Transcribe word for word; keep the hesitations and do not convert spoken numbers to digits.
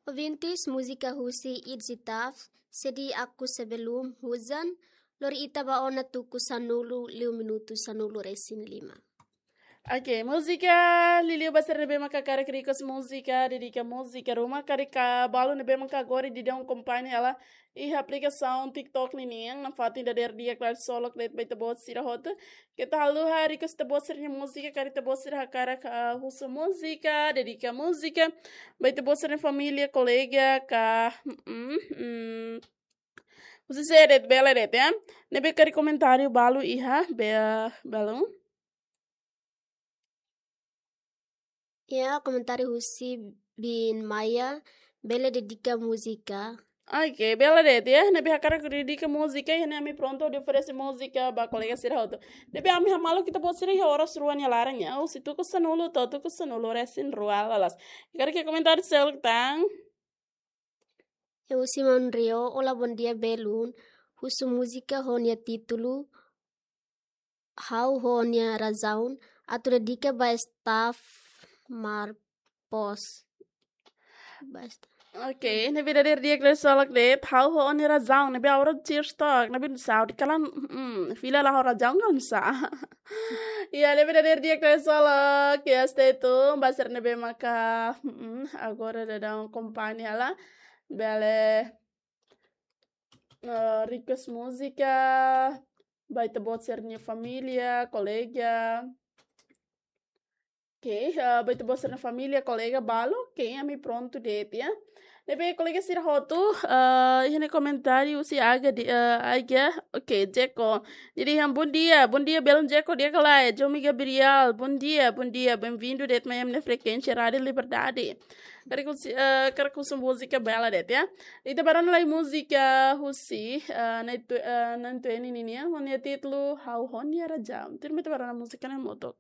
Ouvintes, múzika husi Idzitaf, Sedi Aku Sebelum Hujan, lori ita ba ona tuku sanulu liu minutu sanulu resin lima. Oke, múzika liuliu ba sira ne'ebé maka hakarak request múzika, dedika múzika ruma, karik balu ne'ebé maka agora daudaun akompaña hela iha aplikasaun TikTok ninian, nafatin dadeer di'ak klarsolok de'it ba ita-boot sira hotu. Keta haluha request ita-boot sira-nia múzika, karik ita-boot sira hakarak, ah, husu múzika, dedika múzika ba ita-boot sira-nia família, kolega, ka, mm, mm, husi sé de'it, bele de'it, ya. Ne'ebé karik komentáriu balu iha, be-, balun. Ya, komentáriu husi Bin Maya, bele dedika múzika. Oke, bele de'it, ya. Ne'ebé hakarak dedika múzika, ya, ne'e ami prontu hodi oferese múzika ba kolega sira hotu. Ne'ebé ami hamaluk ita-boot sira iha oras rua nia laran, ya. Husi tuku sanulu to'o tuku sanulu resin rua lalais. Karik komentáriu seluk tan. Husi Maun Rio, olá, bom dia, belun. Husu múzika ho nia títulu Ha'u ho Nia Razaun, atu dedika ba staff Marpos. Ba staff. Oke, ne'ebé dadeer di'ak klarsolok de'it, Ha'u ho Nia Razaun, ne'ebé agora Cheers Talk, ne'ebé saud kalan, mm, fila la ho razaun kan sa. Ya, ne'ebé dadeer di'ak klarsolok, ya, stay tune, ba sira ne'ebé maka, mm, agora daudaun akompaña hela, bele, eh, request múzika ba ita-boot sira-nia família, kolega. Oke, eh, ba ita-boot sira-nia família, kolega balu, oke, ami prontu de'it, ya. Ne'ebé kolega sira hotu, eh, iha ne'e komentáriu husi Aga de, eh, Aga, oke, Jeko. Jadi, yang bom dia, bom dia, belun Jeko, di'ak ka lae, Jomi Gabriel, bom dia, bom dia, bem-vindo de'it mai ami-nia frekuénsia Rádiu Liberdade. Karik husu, eh, karik husu múzika bele de'it, ya. Ita ba rona lai múzika husi, eh, Nai Tu-, eh, Nai Tueni ninian, ho nia títulu Ha'u ho Nia Razaun. Tuirmai ita ba rona múzika ne'e hamutuk.